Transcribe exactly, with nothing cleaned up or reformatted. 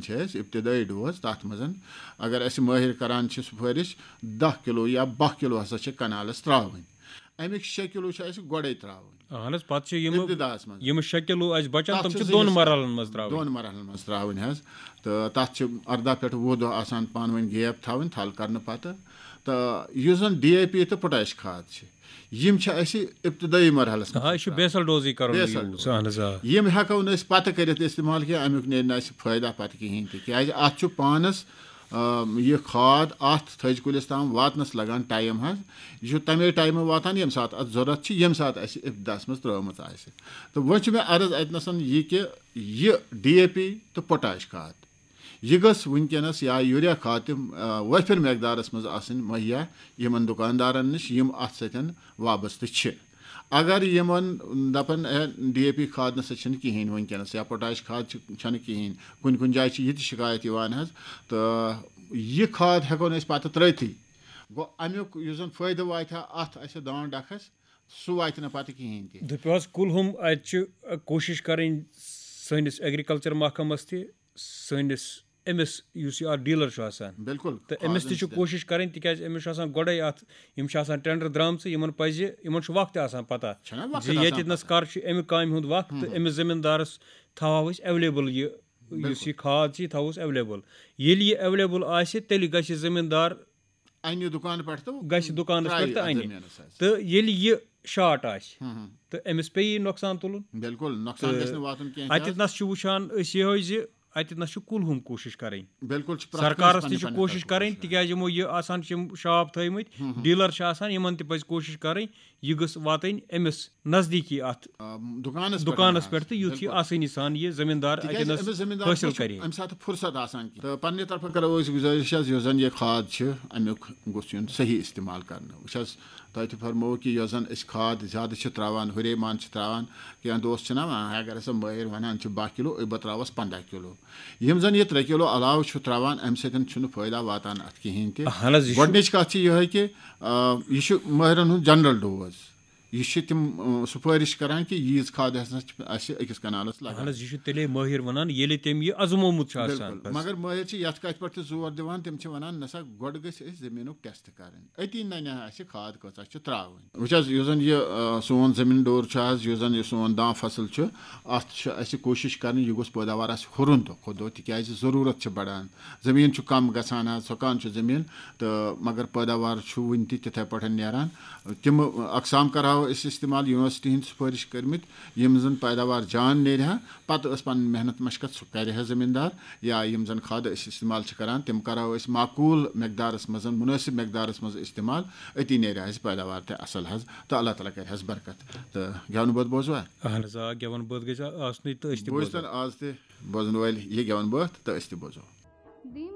چھِ اَسہِ ابتدٲیی ڈوز، تَتھ منٛز اگر اَسہِ مٲہِر کران چھِ سُفٲرِش، دَہ کِلوٗ یا باہ کِلوٗ ہسا چھِ کنالَس ترٛاوٕنۍ۔ اَمِکۍ شےٚ کِلوٗ چھِ اَسہِ گۄڈَے ترٛاوٕنۍ۔ اَہن حظ، پَتہٕ چھِ یِم، ابتداہَس منٛز۔ یِم شےٚ کِلوٗ اَسہِ بَچَن، تَتھ تِم چھِ چھِ زٕ دۄن حصہٕ۔ مَرحلَن منٛز ترٛاوٕنۍ۔ دۄن مَرحلَن منٛز ترٛاوٕنۍ حظ۔ تہٕ تَتھ چھِ اَرداہ پٮ۪ٹھ وُہ دۄہ آسان پانہٕ ؤنۍ گیپ تھاوٕنۍ تھل کَرنہٕ پَتہٕ۔ تہٕ یُس زَن ڈی اے پی تہٕ پوٹاش کھاد چھِ، یِم چھِ اَسہِ ابتدٲیی مرحلَس منٛز آ، یہِ چھُ ترٛاوٕنۍ۔ بیسل ڈوزٕے کَرُن بیسل یوٗز۔ ڈوز۔ اَہن حظ، آ۔ یِم ہٮ۪کو نہٕ أسۍ پَتہٕ کٔرِتھ استعمال کینٛہہ، اَمیُک نیرِ نہٕ اَسہِ فٲیدٕ پَتہٕ کِہیٖنۍ تہِ، کیٛازِ اَتھ چھُ پانَس، آ، یہِ کھاد اَتھ تھٔج کُلِس تام واتنَس لَگان ٹایم حظ۔ یہِ چھُ تَمے ٹایمہٕ واتان، ییٚمہِ ساتہٕ اَتھ ضوٚرَتھ چھِ، ییٚمہِ ساتہٕ اَسہِ ابتداہَس منٛز ترٛٲومٕژ آسہِ۔ تہٕ وۄنۍ چھُ مےٚ عرض اَتہِ نَسَن یہِ کہِ یہِ ڈی اے پی تہٕ پوٹاش کھاد، یہِ گٔژھ وٕنکیٚنَس یا یوٗریا کھاد تہِ، آ، وٲفِر مقدارَس منٛز آسٕنۍ مہیا یِمَن دُکاندارَن نِش، یِم اَتھ سۭتۍ وابستہٕ چھِ۔ اگر یِمَن دَپَن، "ہے، ڈی اے پی کھاد نہ سا چھِنہٕ کِہیٖنۍ وٕنکیٚنَس، یا پوٹاش کھاد چھِ، چھَنہٕ کِہیٖنۍ، کُنہِ کُنہِ جایہِ چھِ یہِ تہِ شِکایت یِوان حظ، تہٕ یہِ کھاد ہٮ۪کو نہٕ أسۍ پَتہٕ ترٛٲوتھٕے۔" گوٚو، اَمیُک یُس زَن فٲیدٕ واتہِ ہا اَتھ اَسہِ دانٛد ڈَکھَس، سُہ واتہِ نہٕ پَتہٕ کِہیٖنۍ تہِ۔ دٔپِو حظ، کُلہُم اَتہِ چھِ کوٗشِش کَرٕنۍ سٲنِس ایگریکلچر محکمَس تہِ، سٲنِس أمِس یُس یہِ اَتھ ڈیٖلر چھُ آسان۔ بِلکُل، تہٕ أمِس تہِ چھِ خادَن کوٗشِش کَرٕنۍ، تِکیٛازِ أمِس چھُ آسان گۄڈَے اَتھ، یِم چھِ آسان ٹینڈر درٛامژٕ، یِمَن پَزِ، یِمَن چھُ وقتہِ آسان پَتہ چھُنہ وقت زِ آسان ییٚتہِ نَس پَتہ۔ کَر چھُ اَمہِ کامہِ ہُنٛد وقت، تہٕ أمِس زٔمیٖندارَس تھاوہو أسۍ ایویلیبل یہِ، یُس بِلکُل۔ یہِ کھاد چھِ، یہِ تھاووس ایویلیبل۔ ییٚلہِ یہِ ایویلیبل آسہِ، تیٚلہِ گژھِ زٔمیٖندار اَنہِ دُکانہٕ پٮ۪ٹھ تہٕ گژھِ دُکانَس ترٛایہِ پٮ۪ٹھ تہٕ اَتھ اَنہِ۔ زٔمیٖنَس حظ۔ تہٕ ییٚلہِ یہِ شارٹ آسہِ، ہُم، ہُم۔ تہٕ أمِس پیٚیہِ یہِ نۄقصان تُلُن۔ بِلکُل، نۄقصان تہٕ گژھِ نہٕ واتُن کینٛہہ تہِ اَتٮ۪تھ حظ۔ نَس چھُ وٕچھان أسۍ یِہوٚے زِ اَتٮ۪تھ نَس چھُ کُلہُم کوٗشِش کَرٕنۍ۔ بِلکُل، چھِ پرٛٮ۪تھ کٲنٛسہِ سرکارَس تہِ پننہِ چھِ پننہِ کوٗشِش طرفہٕ کَرٕنۍ، کوٗشِش کَرٕنۍ۔ تِکیٛازِ یِمو یہِ آسان چھِ یِم شاپ تھٲیمٕتۍ، ہُم، ہُم۔ ڈیٖلر چھِ آسان، یِمَن تہِ پَزِ کوٗشِش کَرٕنۍ۔ یہِ گٔژھ واتٕنۍ أمِس نزدیٖکی اَتھ آ، دُکانَس پٮ۪ٹھ دُکانَس حظ۔ پٮ۪ٹھ تہٕ یُتھ یہِ بِلکُل۔ آسٲنی سان یہِ زٔمیٖندار تِکیٛازِ اَتٮ۪نَس أمِس زٔمیٖندارَس حٲصِل منٛز چھُ کَرِ۔ اَمہِ ساتہٕ فرصت آسان کینٛہہ۔ تہٕ پننہِ طرفہٕ کَرو أسۍ گُزٲرِش حظ، یُس زَن یہِ کھاد چھِ، اَمیُک گوٚژھ یُن صحیح استعمال کَرنہٕ۔ وٕچھ حظ، تۄہہِ تہِ فرمووُ کہِ یۄس زَن أسۍ کھاد زیادٕ چھِ ترٛاوان، ہُرے مان چھِ ترٛاوان، کینٛہہ دوس چھِنہ وَنان، اگر ہسا مٲہِر وَنان چھِ باہ کِلوٗ، أسۍ بہٕ ترٛاوَس پنٛداہ کِلوٗ۔ یِم زَن یہِ ترٛےٚ کِلوٗ علاوٕ چھُ ترٛاوان، اَمہِ سۭتۍ چھُنہٕ فٲیدٕ واتان اَتھ کِہیٖنۍ تہِ۔ اَہَن حظ، یہِ چھُ گۄڈٕنِچ کَتھ چھِ یِہوٚے کہِ، آ، یہِ چھُ مٲہِرَن ہُنٛد جنرل ڈوز۔ یہِ چھِ تِم، آ، سُفٲرِش کَران کہِ ییٖژ کھاد ہسا چھِ اَسہِ أکِس کَنالَس لَگان۔ اَہَن حظ، یہِ چھُ تیٚلے مٲہِر وَنان، ییٚلہِ تٔمۍ یہِ آزمومُت چھُ آسان۔ بِلکُل۔ مگر مٲہِر چھِ یَتھ کَتھِ پٮ۪ٹھ تہِ زور دِوان، تِم چھِ وَنان، نہ سا، گۄڈٕ گٔژھۍ أسۍ زٔمیٖنُک ٹیسٹ کَرٕنۍ، أتی نَنہِ ہا اَسہِ کھاد کۭژاہ چھِ ترٛاوٕنۍ۔ وٕچھ حظ، یُس زَن یہِ، آ، سون زٔمیٖن ڈوٗر چھُ حظ، یُس زَن یہِ سون داں فصل چھُ، اَتھ چھِ اَسہِ کوٗشِش کَرٕنۍ، یہِ گوٚژھ پٲداوار اَسہِ ہُرُن دۄہ کھۄتہٕ دۄہ، تِکیٛازِ ضروٗرت چھِ بَڑان۔ زٔمیٖن چھُ کَم گژھان حظ، سۄکان چھُ زٔمیٖن، تہٕ مگر پٲداوار چھُ وُنہِ تہِ تِتھَے پٲٹھۍ نیران۔ تِم اقسام کَرہاو أسۍ استعمال، یونیورسٹی ہِنٛدۍ سُفٲرِش کٔرمٕتۍ، یِم زَن پٲداوار جان نیرِ ہا، پَتہٕ ٲس پَنٕنۍ محنت مشقت سُہ کَرِ ہا زٔمیٖندار، یا یِم زَن کھادٕ أسۍ استعمال چھِ کَران، تِم کَرہاو أسۍ معقوٗل مقدارَس منٛز، مُنٲسِب مقدارَس منٛز استعمال، أتی نیرِ ہا اَسہِ پٲداوار تہِ اَصٕل حظ، تہٕ اللہ تعالیٰ کَرِ ہَس برکت۔ تہٕ گٮ۪ونہٕ بٲتھ بوزوا؟ اَہَن حظ، آ، گٮ۪وَن بٲتھ گژھِ آسنُے تہٕ أسۍ تہِ بوزو۔ بوزتَن آز تہِ بوزَن وٲلۍ یہِ گٮ۪وَن بٲتھ تہٕ أسۍ تہِ بوزو۔